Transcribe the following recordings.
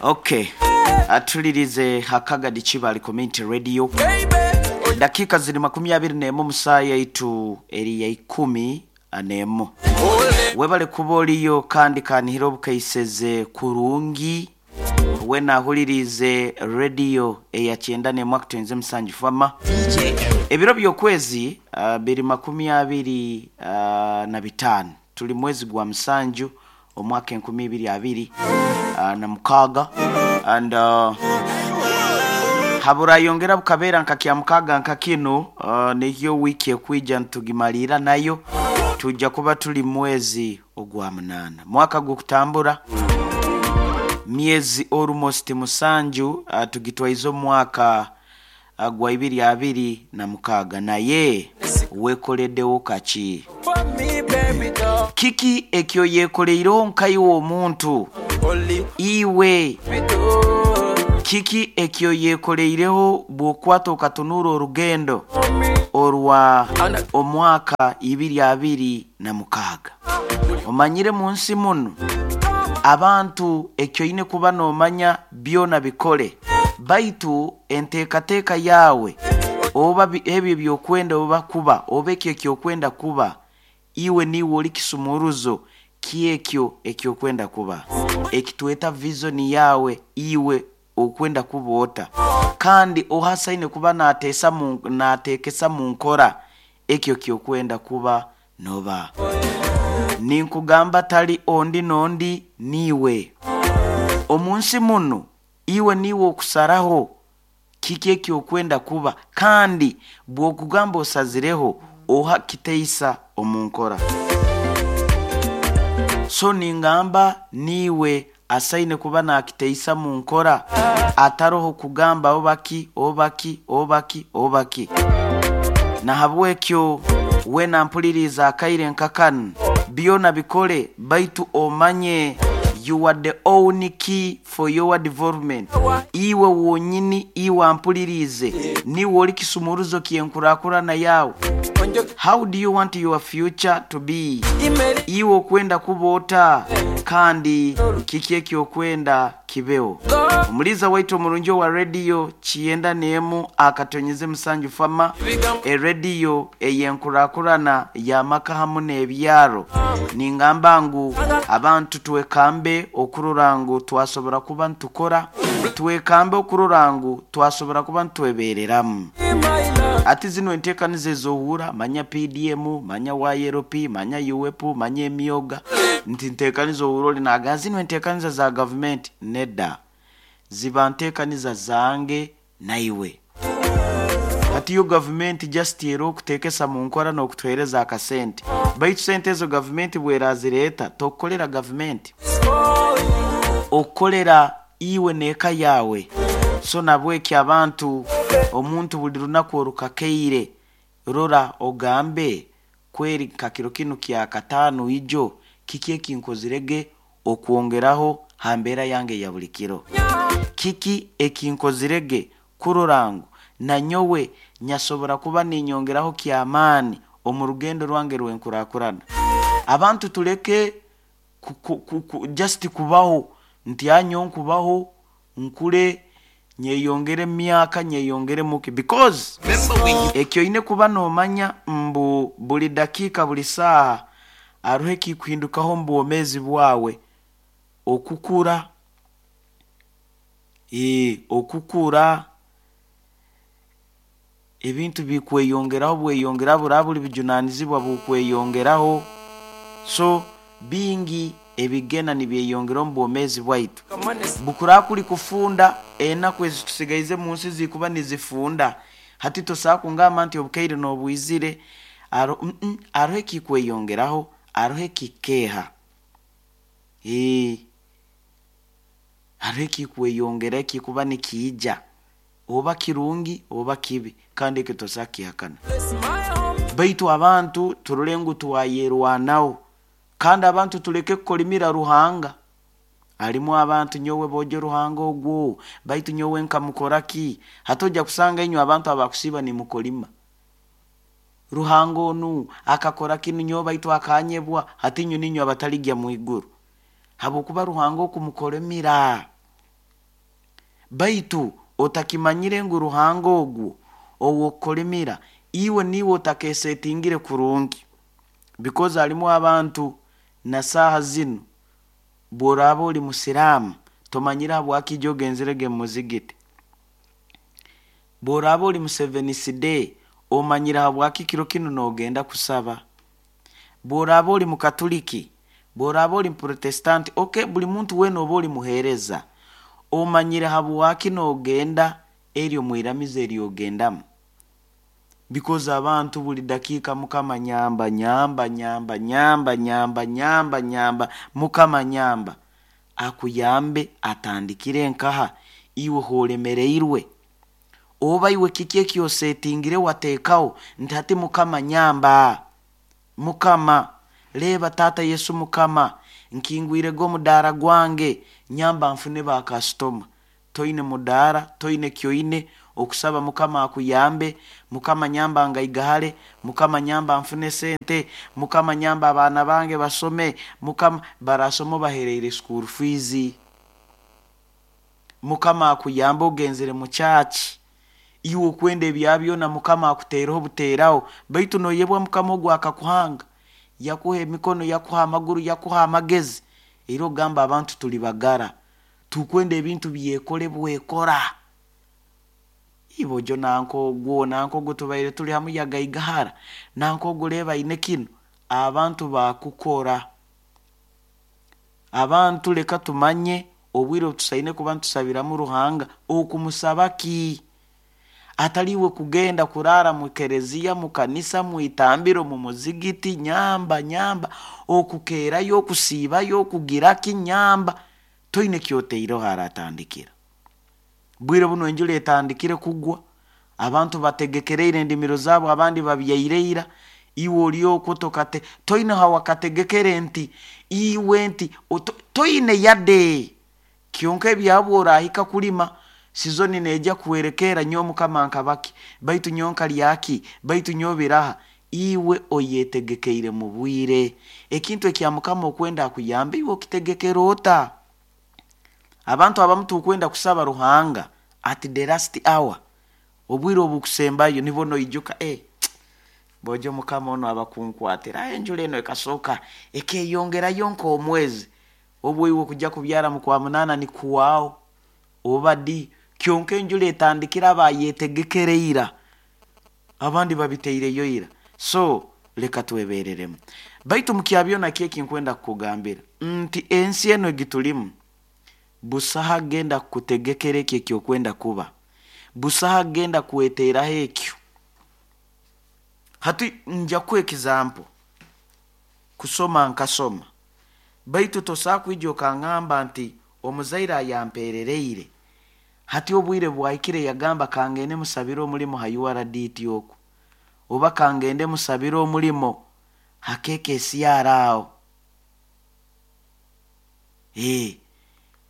Okay, atulirize Hakagadi Kibali Community Radio. Dakika ziri 21 musaa yaitu eri ya 11. Webale kuba oliyo kandi kanihira obukaiseze kurungi. Wena ahulirize radio eya 91.7 fama. Ebiro by'okwezi biri 25. Tuli mwezi gwa musanju omwaka 2026 and haburayongera bukabera nka kya mukaga nka kino niyo wiki ekwija ntugimalira nayo tujja kuba tuli mwezi ogwa munana mwaka gukutambura myezi almost musanju tugitwaize omwaka gwa 2026 naye wekoleddewo kaki kiki ekyo yekoleireho nkaiwe omuntu iwe kiki ekyo yekoleireho bw'okwata okatunura orugendo orwa omwaka 2026 omanyire mu nsi muno abantu ekyo ine kuba nomanya byona bikole baitu enteekateeka yawe oba ebyo byokwenda oba kuba oba ekyo ekyokwenda kuba iwe niwe oli kisumuruzo kyekyo ekyokwenda kuba ekitweta vision yawe iwe okwenda kuba ota kandi ohasaine kuba nateekesa mu nkora ekyo kyokwenda kuba noba ninkugamba tali ondi nondi niwe omunsi muno iwe niwe okusaraho kiki ekyokwenda kuba kandi bwokugamba osazireho oha kiteisa omunkora so ningamba niwe asaine kuba nakiteisa munkora ataroho kugamba obaki obaki obaki obaki nahabwekyo wena mpuliriza akaire nkakanu byona bikole baitu omanye you are the only key for your development. Iwe wonyini iwe ampulirize niwe oli kisumuruzo kyenkurakurana yawe. How do you want your future to be? Iwe okwenda kuba ota kandi kiki ekyokwenda kibeo. Omuliza waitu omurungi wa radio kiyenda nemu akatonyeze musanju fama erediyo eyenkurakurana yamaka hamu n'ebyaro. Ningamba ngu abantu twekambe okurora ngu twasobora kuba ntukora, twekambe okurora ngu twasobora kuba ntwebereramu. Ati zino enteekaniza ezohura manya PDM, manya YLP, manya UWEP, manya emyoga nti nteekaniza ohura oli naga zino enteekaniza za gavumenti nedda ziba nteekaniza zange naiwe. Hati yo gavumenti just era okuteekesa mu nkora n'okutuheereza akasente baitu sente ezo gavumenti bwerazireeta tokukolera gavumenti okukolera iwe n'eka yawe. So nabweki abantu omuntu buli lunaku orukakeire rora ogambe kweri kakiro kinu kya katano ijo kiki ekinkozirege okwongeraho ha mbeera yange ya buli kiro, kiki ekinkozirege kurora ngu nanyowe nyasobora kuba ninyongeraho kyamaani omu rugendo rwange rw'enkurakurana. Abantu tuleke just kubaho nti anyo nkubaho nkule nyeyongere myaka nyeyongere muki because ekyo ine kuba nomanya mbu buli dakika buli saaha aruho ekikuhindukaho mu bwomeezi bwawe okukura okukura ebintu bikweyongeraho bweyongera buraba buli bijunanizibwa bukweyongeraho so bingi ebigena nibyeyongera omu bwomeezi bwaitu. Bukura kuli kufunda enaku ezi tusigaize mu nsi zikuba nizifunda hati tosobola kungamba nti obukaire n'obwizire aroho ekikweyongeraho aroho ekikeeha aroho ekikweyongera ekikuba nikiija oba kirungi oba kibi kandi ekyo tosobola kukihakana. Baitu abantu turole ngu twayerwanaho kandi abantu tuleke kukolimira Ruhanga. Alimu abantu nyowe bojo Ruhanga ogwo baitu nyowe nkamukora ki? Hati ojja kusanga inywe abantu abakusiiba nimukolima Ruhanga onu akakora kinu nyowe baitu akanyebwa hati inywe ninywe abataligya mwiguru habwokuba Ruhanga okumukolimira. Baitu otakimanyire ngu Ruhanga ogwo ow'okukolimira iwe niiwe otakeesetingire kurungi, because harimu abantu na saaha zinu bw'oraaba oli musiraamu tomanyire habwaki ijo ogenzirege mu muzigiti. Bw'oraaba oli Museventh Day omanyire habwaki kiro kinu noogenda kusaba. Bw'oraaba oli Mukatuliki, bw'oraaba oli Muprotestanti, okay, buli muntu weena oba oli muheereza, omanyire habwaki noogenda eryo mwiramizo eryogendamu. Because abantu buli dakiika Mukama nyamba, nyamba, nyamba, nyamba, nyamba, nyamba, nyamba, Mukama nyamba. Akuyambe atandikire nkaha iwe hoolemereirwe? Oba iwe kiki eki osetingire wateekaho nti hati Mukama nyamba, Mukama reeba Taata Yesu Mukama nkingwirege omudaara gwange nyamba nfune ba kasitoma. Toine mudaara, toine kyoine, okusaba Mukama akuyambe, Mukama nyamba ngaigahare, Mukama nyamba nfune sente, Mukama nyamba abaana bange basome, Mukama barasoma obahereire school fees. Mukama akuyambe ogenzere mu church, iwe okwenda ebya byona Mukama akuteereho obuteeraho, baitu noyebwa Mukama ogu akakuhanga, yakuha emikono, yakuha amaguru, yakuha amagezi, era ogamba abantu tuli bagara, tukwenda ebintu byekole bwekora. Ibojo nanka ogwo, nanka ogwo tubaire tuli hamu yagaigahara, nanka ogwo reeba aine kinu, abantu baakukora. Abantu leka tumanye obwire obu tusaine kuba nitusabiramu Ruhanga, okumusaba ki? Atali iwe kugenda kuraara mu kereziya, mu kanisa, mu itambiro, mu muzigiti, nyamba, nyamba, okukeerayo, okusiibayo, okugira ki, nyamba, toine kyoteireho haratandikira. Bwire bunu enjura etandikire kugwa, abantu bategekereire endimiro zaabo, abandi babyaire ira, iwe ori okwo tokate, toine hawakategekere nti iwe nti toine yade. Kyonka ebyabwe orahika kulima, sizoni neija kuhwerekeera nyowe Mukama nkabaki, baitu nyowe nkalyaki, baitu nyowe biraha. Iwe oyetegekeire mu bwire. Ekintu ekya Mukama okwenda akuyambe iwe okitegekera ota? Abantu abamu tukwenda kusaba Ruhanga at the last hour, obwire obukusembayo nibwo noijuka, bojo Mukama onu abakunkwatira, enjura eno ekasooka ekeyongerayo nk'omwezi, obwo iwe kujja kubyara mu kwa munaana nikuhwaho, oba di, kyonka enjura etandikire abayetegekere ira, abandi babiteireyo ira. So leka twebereremu. Baitu mukya byona ki ekinkwenda kukugambira nti ensi eno egitulimu, busaho agenda kukutegekera ekyo ekyokwenda kuba, busaho agenda kweteraho ekyo. Hati nja kuha example, kusoma nkasoma, baitu tosobola kwija okangamba nti omuzaire ayamperereire, hati obwire bwahikire yagamba kangende musabire omulimo ha URDT oku, oba kangende musabire omulimo ha KKCR aho.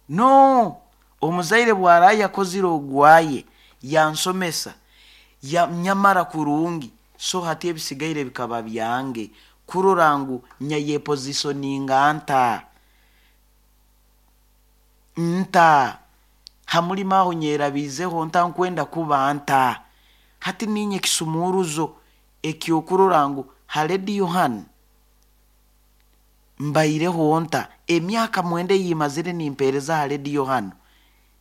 No, omuzaire bw'araba yakozire ogwaye, yansomesa, nyamara kurungi, so hati ebisigaire bikaba byange, kurora ngu nyayepositioninga nta, nta, ha mulimo aho nyerabiizeho nta nkwenda kuba nta. Hati ninye ekisumuruzo ekyokurora ngu ha rediyo hanu mbaireho nta, emyaka 9 eyimazire nimpeereza ha rediyo hanu,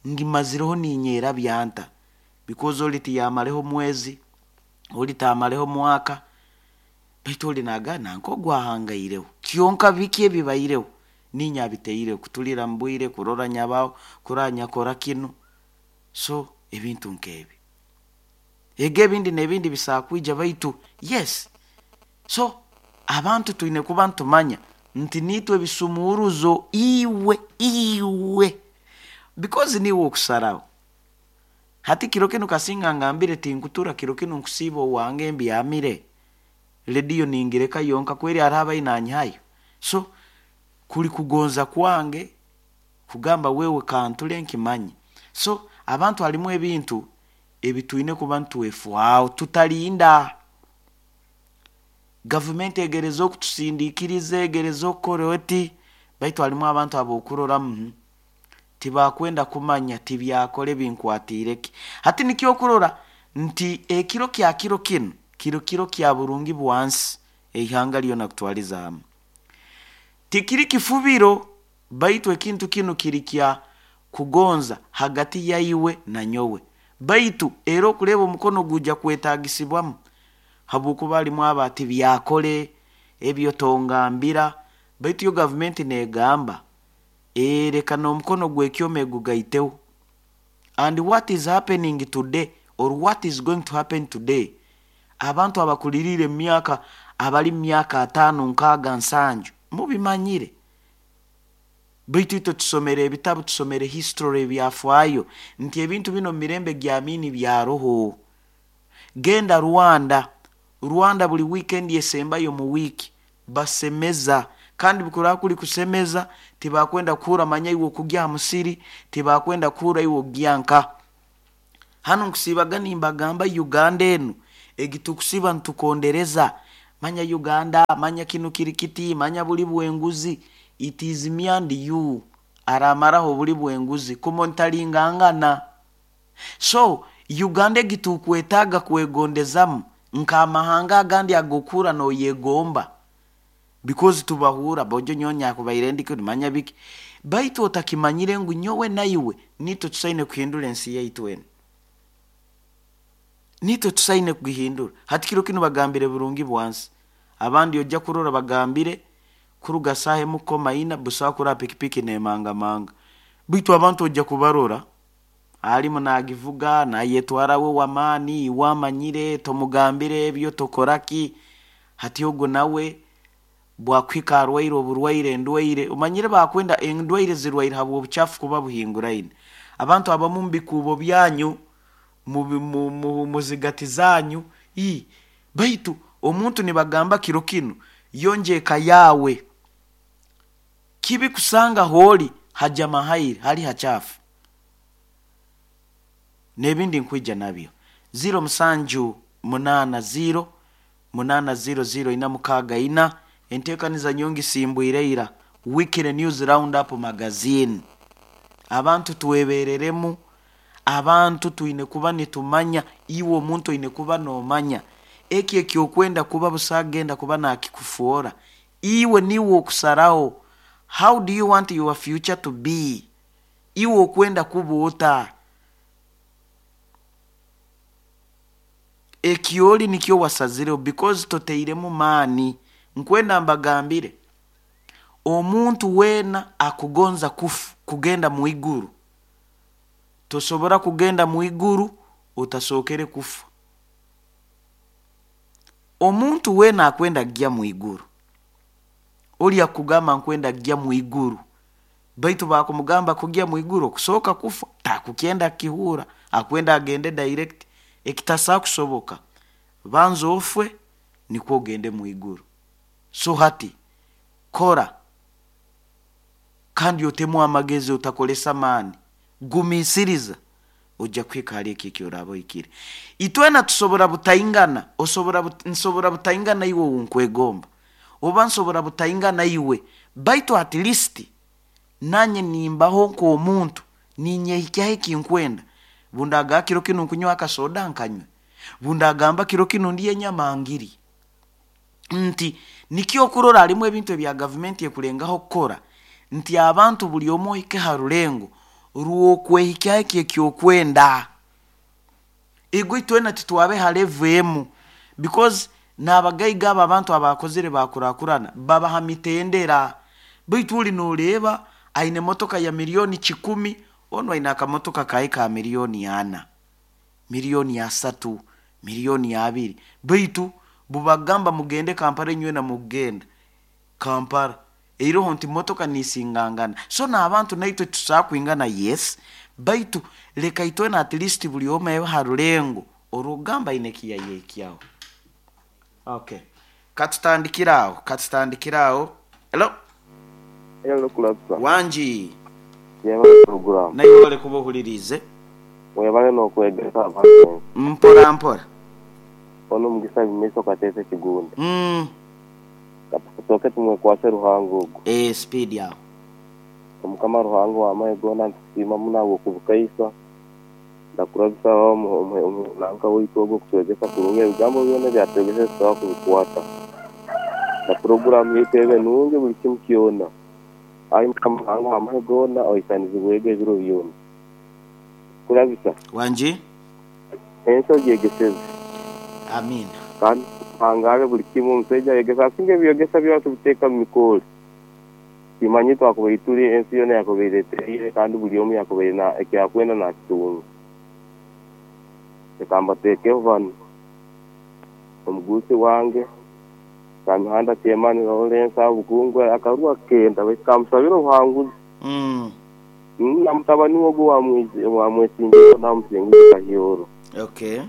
ngimazireho ninyerabya nta, because oli tiyamareho mwezi, oli taamareho mwaka, baitu oli naagamba nanka ogu ahangaireho, kyonka biki ebibaireho, ninye abiteireho, kutulira mu bwire, kurora nyabaho, kurora nyakora kinu, so ebintu nk'ebi. Ego ebindi n'ebindi bisobola kwija baitu yes. So abantu twine kuba nitumanya nti niitwe ebisumuruzo iwe, iwe, because niiwe okusaraho. Hati kiro kinu kasinga ngambire tinkutura kiro kinu nkusiiba owange mbyamire, rediyo ningireka yonka kweri hariho abayi nanyihayo. So kuri kugonza kwange kugamba wewe kanture nkimanye. So abantu harimu ebintu ebitwine kuba nitwefwaho tutarinda. Gavumenti egereza okutusindikiriza, egereza okukora oti, baitu harimu abantu ab'okuroramu. Tibakwenda kumanya tibyakole binkwatiire ki. Hati nikyo okurora nti ekiro kya kiro kinu kiri kiro kya burungi bwansi eihanga lyona kutwaliza hamu. Tikiri kifubiro baitu ekintu kinu kiri kya kugonza hagati yaiwe na nyowe. Baitu era okureeba omukono gujja kwetagisibwamu habwokuba halimu abo ati byakole ebyo tongambira baitu yo gavumenti negamba leka n'omukono gw'ekyoma egugaiteho. And what is happening today or what is going to happen today, abantu abakuliriire omu myaka abali mu myaka ataano, nkaaga, nsanju mubimanyire. Baitu itwe tusomere ebitabu, tusomere history ebyafaayo nti ebintu binu omu mirembe gya Amini byaroho. Genda Rwanda, Rwanda buli weekend esembayo mu wiiki basemeza kandi bukuraba kuli kusemeza tibakwenda kuhurra manya iwe okugya ha musiri, tibakwenda kuhurra iwe okugya nka. Hanu nkusiibaga nimbagamba Uganda enu egi tukusiiba nitukondereza manya Uganda, manya kinu kiri kiti, manya buli bw'enguzi. It is me and you aramaraho obuli bw'enguzi kumontalingangana. So Uganda egi tukwetaaga kwegondezamu nk'amahanga agandi ag'okuhurra noyegomba because tubahurra bojo nyowe nyakubaire ndi kinu manya biki. Baitu otakimanyire ngu nyowe naiwe niitwe tusaine kuhindura ensi yaitu enu. Niitwe tusaine kugihindura. Hati kiro kinu bagambire burungi bwansi. Abandi ojja kurora bagambire kuruga saaha emu kukoma ina busaho kurora pikipiki nemangamanga. Baitu abantu ojja kubarora alimu nagivuga nayetwara we w'amaani iwe amanyire tomugambire ebyo tokora ki. Hati ogu nawe bwakuhika arwaire oburwaire endwaire omanyire bakwenda endwaire zirwaire habw'obucaafu kuba buhinguraine. Abantu abamu mu bikuubo byanyu mu zigati zanyu baitu omuntu nibagamba kiro kinu yonja eka yaawe. Kibi kusanga hooli hajama hairi hali hacaafu. N'ebindi nkwija nabyo. 0 7 8 0 8 0 0 4 6 4 enteekaniza nyongi simbwire ira Weekly News Roundup Magazine. Abantu twebereremu, abantu twine kuba nitumanya, iwe omuntu oine kuba noomanya eki ekyokwenda kuba busa agenda kuba nakikufoora. Iwe niiwe okusaraho how do you want your future to be? Iwe okwenda kuba ota? Ekyoli nikyo wasazireho because toteiremu maani. Nkwenda mbagambire omuntu weena akugonza kufa kugenda mu iguru, tosobora kugenda mu iguru otasookere kufa. Omuntu weena akwenda kugya mu iguru, oli akugamba nkwenda kugya mu iguru, baitu bakumugamba kugya mu iguru okusooka kufa takukyenda kukihurra, akwenda agende direct ekitasobola kusoboka. Banza ofwe nikwo ogende mu iguru. So hati kora kandi otemu amagezi otakolesa maani, gumiisiriza ojja kuhika hali eki ekyoraaba ohikire. Itwena tusobora butaingana, osobora nsobora butaingana iwe ou nkwegomba oba nsobora butaingana iwe, baitu at least nanye nimbaho nk'omuntu ninyehikyaho ekinkwenda. Bundagamba kiro kinu nkunywa akasoda nkanywe, bundagamba kiro kinu ndya enyama ngirye. Nti nikyo okurora halimu ebintu ebya gavumenti ekulengaho kukora nti abantu buli omu ohike ha rulengo rw'okwehikyaho eki ekyokwenda. Ego itwena titwabe ha level emu because n'abagaiga abo abantu abakozire bakurakurana babaha mitendera. Baitu oli noreeba aine emotoka ya milioni 100, onu aine akamotoka kaye ka milioni 4, milioni 3, milioni 2. Baitu bubagamba mugende Kampala inywena mukugenda Kampala. Eiroho nti motoka nisingangana. So n'abantu naitwe tusobola kwingana yes, baitu leka itwena at least buli omu abe ha rulengo orw'okugamba aine ekiyayehikyaho. Okay. Katutandikire aho, katutandikire aho. Hello? Hello Kulabisa. Wangi. Yebale program. Naiwe webale kuba ohuliriize. Webale n'okwegesa abantu ensi. Mpora mpora. Onu Mugisa Bimaiso Kateese Kigunda. Katusooke tumwekwase Ruhanga ogu. Eeh speed aho. Omukama Ruhanga ow'amahe goona nitukusiima muno ahabw'okubukaisa. Ndakurabisa nanka waitu ogu okutwegesa kurungi ebigambo byona ebi atwegeseze tusobora kubikwata. Na puroguramu yaitu ebe nungi buli kimu kyona. Ai Mukama Ruhanga ow'amahe goona oisanizibwege ebiro byona. Kurabisa. Wangi. Ensi ogyegeseze. Amiina. Kandi ohangaale buli kimu. Omusaija ayegesa asinga ebyegesa byona tubiteeka mu mikoore. Timanya twakubaire tuli ensi yoona yakubaire etereire kandi buli omu yakubaire na eki akwenda nakitunga. Leka mbateekeho banu, Omuguusi wange, Kamihanda Kyemani Lawrence aho Bukungwe akarua kenda baitu kamusabire obuhanguzi. Na mutabani we ogu owamwesimbireho namusinguza Kahyoro. Okay.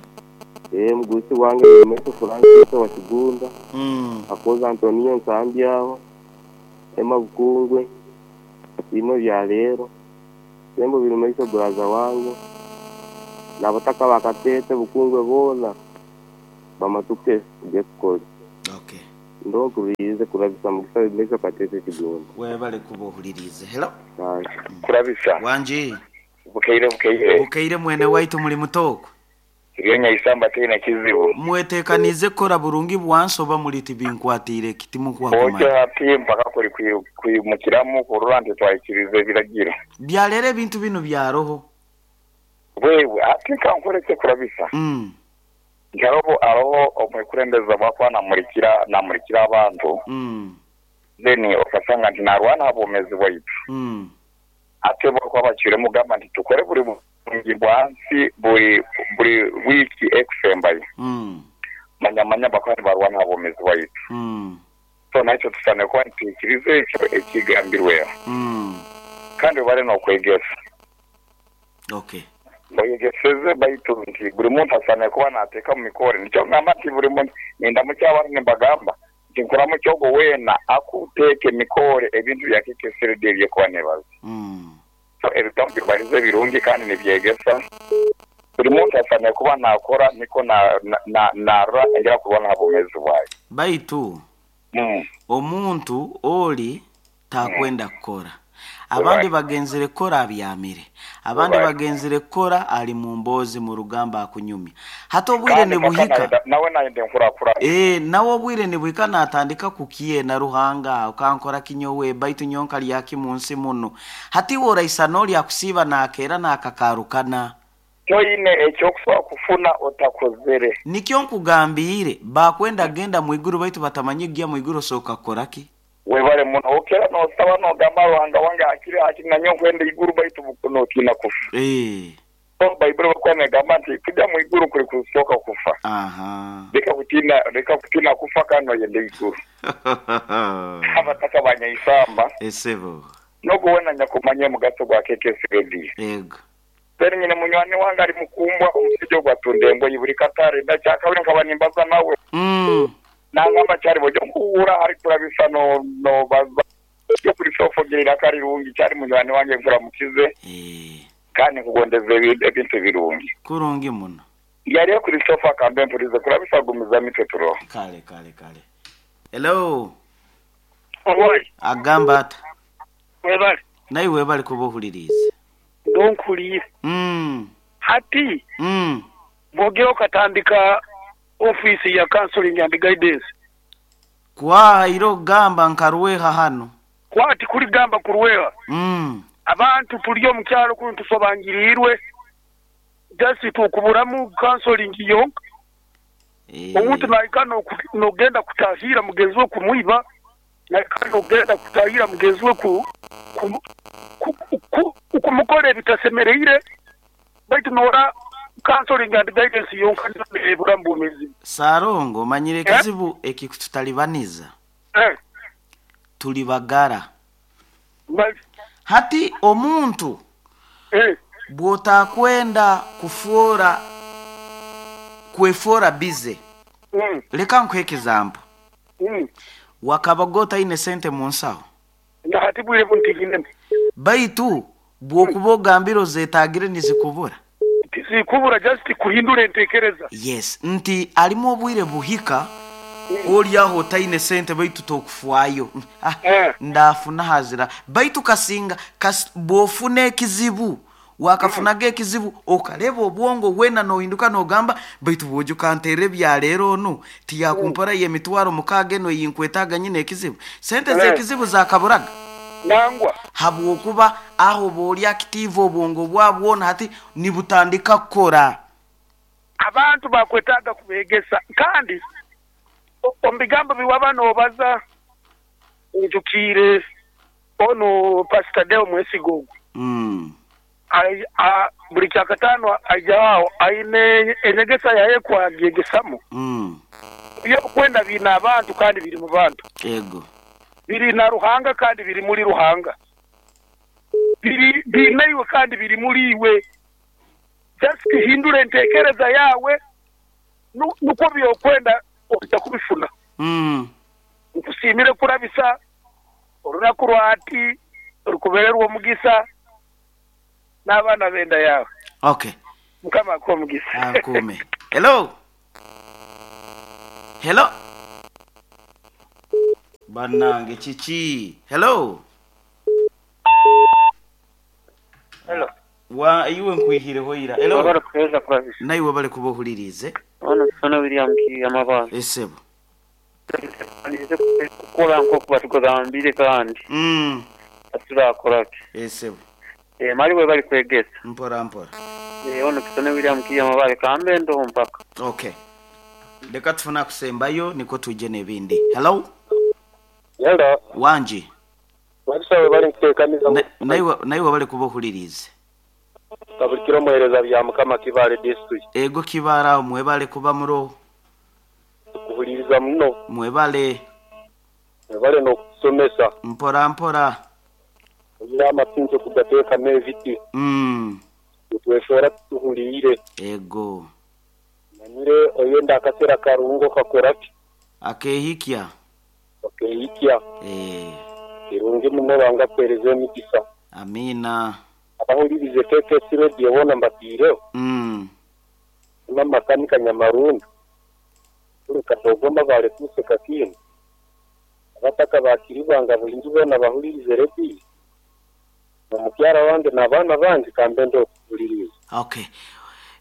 Omuguusi wange Birimaisho Francis owa Kigunda, Akoza Antonio Nsambi aho. Emma Bukungwe, Asiimwe Byaleero, Sembo Birimaiso buraza wange, n'abataka ba Kateete Bukungwe boona bamatuke gekukole. Okay. Ndoo nkuhuliriize kurabisa Mugisa Birimaiso Kateete Kigunda. Webale kuba ohuliriize. Hello. Kale. Kurabisa. Wangi. Bukeire bukeire. Bukeire mwene waitu muli muta okwo? Turiyo nyaisamba tihaine kizibu. Mwetekaniize kukora burungi bwansi oba muri tibinkwatiire ki timukuha Otyo kumanya? hati mpaka kuri kwimukiramu kurora nti twahikiriza ebiragiro. Byaleero ebintu binu byaroho. Bwewe hati nka nkore ekyekurabisa nti haroho haroho omwekurembeze obu akuba namurikira namurikira abantu then okasanga nti narwana aha bwomezi bwaitu. Ate bo bakuba bacwiremu kugamba nti tukore buri burungi bwansi buri buri wiiki ekusembayo. Manya manya bakuba nibarwana aha bwomezi bwaitu. So naitwe tusaanire kuba nitwikiriza ekyo ekigambirweho. Kandi webare n'okwegesa. Okay. Oyegeseze baitu nti buri muntu asaanire kuba nateeka omu mikore. Nikyo ngamba nti buri muntu nindamukya abantu nimbagamba nti nkuramukya ogwo weena akuteeka emikoore ebintu bya KKC Radio ebyekuba nebaza. So ebigambo byobalize birungi kandi nibyegesa. Buri muntu asaanire kuba nakora nikwo narora engeri akurwana aha bwomezi bwaye. Baitu omuntu ori takwenda kukora. Abandi bagenzire kukora abyamire. Abandi bagenzire kukora ali mu mboozi mu rugamba akunyumya. Hati obwire nibuhika. Nawe nayenda enkurakurana. Ee, nawe obwire nibuhika natandika kukyena Ruhanga okankora ki nyowe baitu nyowe nkarya ki mu nsi munu. Hati iwe oraisana ori akusiiba nakeera nakakarukana. Toine ekyokusobola kufuna otakozere. Nikyo nkugambiire, bakwenda kugenda mwiguru baitu batamanyire kugya mwiguru osooka kukora ki? Webale muno. Okera nosaba nogamba Ruhanga wange hakiri hakiri nanyowe nkwenda iguru baitu notiina kufa. So Baibuli bwekuba negamba nti kugya mwiguru kuri kusooka kufa. Leka kutiina leka kutiina kufa kandi noyenda iguru. Abataka ba Nyaisamba. Esebo. Nogu wena nyakumanya omugaso gwa KKC Radio. Ego. Then nyine munywani wange ari mukumbwa omusaija ogu atunda engoyi buri katare nakyakabiri nkaba nimbaza nawe. Nangamba kyari bw'oija nkuhurra hari kurabisa no nobaza yo kuri sofogira iraka rirungi kyari munywani wange nkuramukize kandi nkugondeza ebintu birungi. Kurungi muno. Yari kuri sofa kambe mpurize kurabisa gumiza mitwe turoho. Kale kale kale. Hello. Owai. Agamba ata? Webale. Naiwe webale kuba ohuliriize. Ndonkuliire. Hati bw'ogira okatandika ofiisi ya counseling and guidance. Kwahaire okugamba nka Rweha hanu. Kwa tikuligamba ku Rweha. Abantu tuli omu kyalo kunu tusobangiriirwe just tukuburamu counseling yonka. Omuntu naika n'ogenda kutahiira mugenzi we kumwiba, naika n'ogenda kutahiira mugenzi we kumukora ebitasemereire, baitu noora counseling and guidance yonka niyo nebura mu bwomeezi. Sarongo omanyire ekizibu ekikututalibaniza? Tuli bagara. Hati omuntu bw'otakwenda kufuora kwefuora bize. Leka nkuhe example. Wakabaga otaine sente mu nsaho? Na hati bwire bunu tinyinemu. Baitu bw'okuba ogambire ozetagire nizikubura? Tizikubura just kuhindura entekereza. Yes, nti harimu obwire buhika. Oli aho otaine sente baitu tokufwayo. Ah, ndafuna hazira. Baitu kasinga bwofuna ekizibu, wakafunaga ekizibu okaleba obwongo wena nohinduka nogamba baitu bwojo kanterera ebyaleero onu tiyakumpora yemitwaro mukaaga eno eyinkwetaaga nyine ekizibu. Sente z'ekizibu zakaburaga. Nangwa. Habwokuba aho bwoli active obwongo bwabwona hati nibutandika kukora. Abantu bakwetaaga kubegesa kandi omu bigambo biwaba nobaza njukiire onu Pastor Deo Mwesiga ogu. Buli kyakataano aija aho aine enyegesa yaye kwagyegesamu. Ebyokwenda biine abantu kandi biri mu bantu. Ego. Biri na Ruhanga kandi biri muri Ruhanga. Biri biine iwe kandi biri muri iwe. Just hindura entekereza yawe nukwo byokwenda ojja kubifuna. Nkusiimire kurabisa olunaku lwati rukubererwa omugisa n'abaana b'enda yawe. Okay. Mukama akuhe omugisa. Akuume. Hello. Hello. Bannange kiki? Hello. Hello. Wa iwe nkwihireho ira. Hello. Wabale kuheereza kurabisa. Naiwe bale kuba ohuliriize. Ono Kisona William Kiyamabanga. Esebo. Kukora nk'oku batugambire kandi. Aturakora ki? Esebo. Mali we bali kwegesa. Mpora mpora. Ono Kisona William Kiyamabale kambe ndo mpaka. Okay. Leka tufuna kusembayo niko tuje n'ebindi. Hello. Hello. Wanji. Wabisa bali nkuteekaniza. Naiwe bali kuba ohuliriize. Kabulikiro muhereza bya Mukama Kibale district. Ego Kibara mwebale kuba muro. Kuhuliriza muno. Mwebale. Mwebale n'okusomesa. Mpora mpora. Oyina amatungo kugateekamu ebiti. Twefora tuhulire. Ego. Manyire oyenda akasera karungo kakoraki. Akehikya. Akehikya. Kirungi muno banga kwereza emigisa. Amina. Abahulirize KKS Radio bona mbatiireho. Makanika Nyamarundu. Tuli Katogoma bale kuseka kinu. Abataka bakiribanga bulingi bona bahulirize radio. Omukyara wange n'abaana bange kambe okuhuliriza. Okay.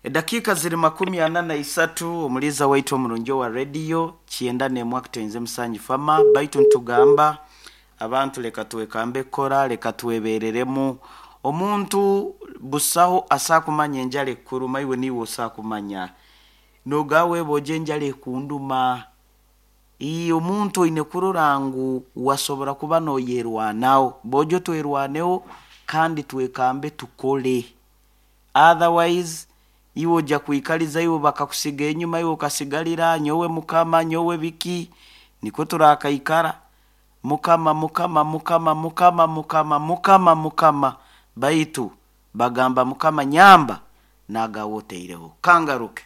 Edakika ziri 43 omuliza waitu omurungi wa radio kyenda nemwe akutenze musanyi fama baitu ntugamba abantu leka twekambe kora leka twebereremu omuntu busaho asakumanya enjala ekuruma iwe niwe osakumanya nogawe boje enjala ekunduma iyi omuntu oine kurora ngu wasobora kuba noyerwanaho bojo twerwaneho kandi twekambe tukole otherwise iwe ojja kwikaliza iwe bakakusiga enyuma iwe okasigalira nyowe mukama nyowe biki niko turakaikara mukama mukama mukama mukama mukama mukama mukama baitu bagamba mukama nyamba nagawoteireho kangaruke.